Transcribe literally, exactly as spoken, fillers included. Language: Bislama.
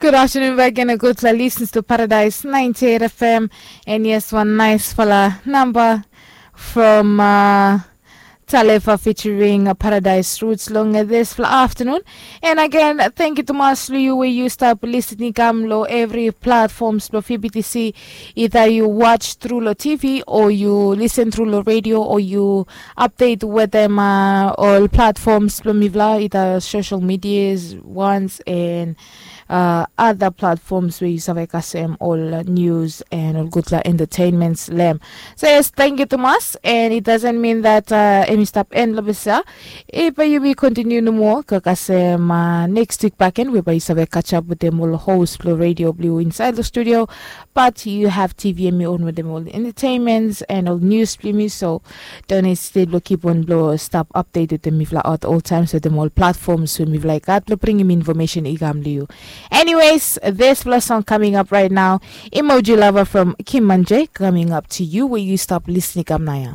Good afternoon back again, a good listens to Paradise ninety-eight F M. And yes, one nice fella number from uh, Talefa featuring uh, Paradise Roots long uh, this fla- afternoon. And again, thank you to mas lo you where you stop listening kam lo every platforms lo P B T C. Either you watch through lo T V or you listen through lo radio or you update with them uh, all platforms lo mivla, either social medias ones and uh, other platforms where you save kasem all uh, news and all good la entertainments lem. So yes, thank you to mas. And it doesn't mean that uh, emi stop en lo bisa. If uh, you will continue no more, kakasem uh, next week back end, whereby you save catch up with them all host lo radio blue inside the studio. But you have T V and me on with them all entertainments and all news blue me. So don't hesitate to keep on blow stop updated with them if like at all times with them all platforms when we've like that to bring him information igam liu. Anyways, this last song coming up right now, Emoji Lover from Kim Manje coming up to you where you stop listening kam naya.